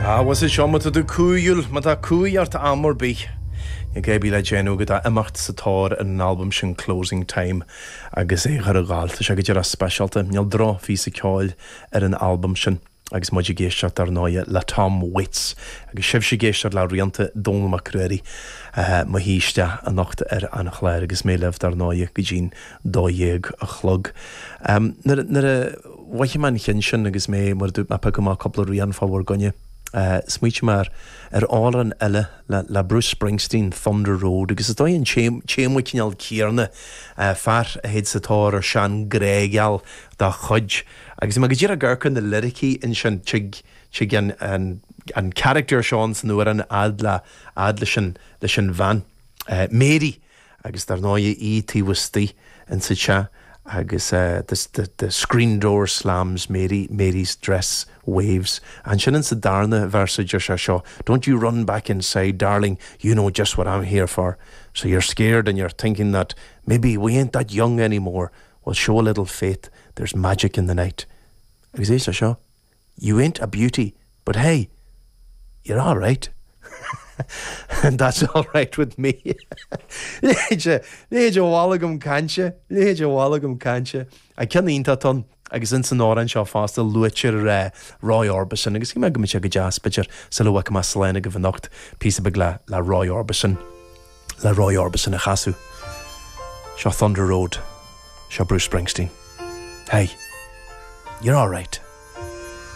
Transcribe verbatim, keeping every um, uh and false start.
Agus is seo má tá tú cumhúil má tá cumhaidh ort am ar bith. Níl gá le déanamh go ach imeacht sa tóir an albam sin Closing Time agus é chur a gáil Tá sé go dtí speisialta níl drochphíosa ceoil ar an albam sin. agus muid ag éisteacht ar ndóigh le Tom Waits agus sibhse ag éisteacht le rianta Dónall Mac Ruairí uh, mo thíiste anocht ar an chlár agus mé libh dar ndóigh go dtí'n dó dhéag a chlog. Um, Nuair a mhothaigh mé an ceann sin agus mé mar dúirt mé ag piocadh cúpla rian fá bhur gcoinne. Uh, Smaoinigh mé ar amhrán eile le, le Bruce Springsteen Thunder Road, agus is dóigh an téama cineál céanna uh, fear a théid sa tóir ar seanghrágheal dá chuid. Agus má go dtí gur na liricí ansin tig tig an, an, an character seo san amhrán fhad le fhad leis an leis an bhean. Uh, Mary agus dar ndóigh í taobh istigh in sa teach agus uh, the, the, the screen door slams Mary Mary's dress waves and sin in sa darna véarsa deir sé seo don't you run back inside darling you know just what I'm here for so you're scared and you're thinking that maybe we ain't that young anymore well show a little faith there's magic in the night agus é seo you ain't a beauty but hey you're all right and that's all right with me. Léide bhhaile caiinte, léide bhhaile caiinte a ceann iontach agus in san amhrán seo fosta luaitear Roy Orbison agus mé go sé go deas b'fhéidir sa le mar sléna go bhnocht pí be le le Roy Orbison le Roy Orbison a chasadh. Seo Thunder Road, seo Bruce Springsteen. Hey, you're all right.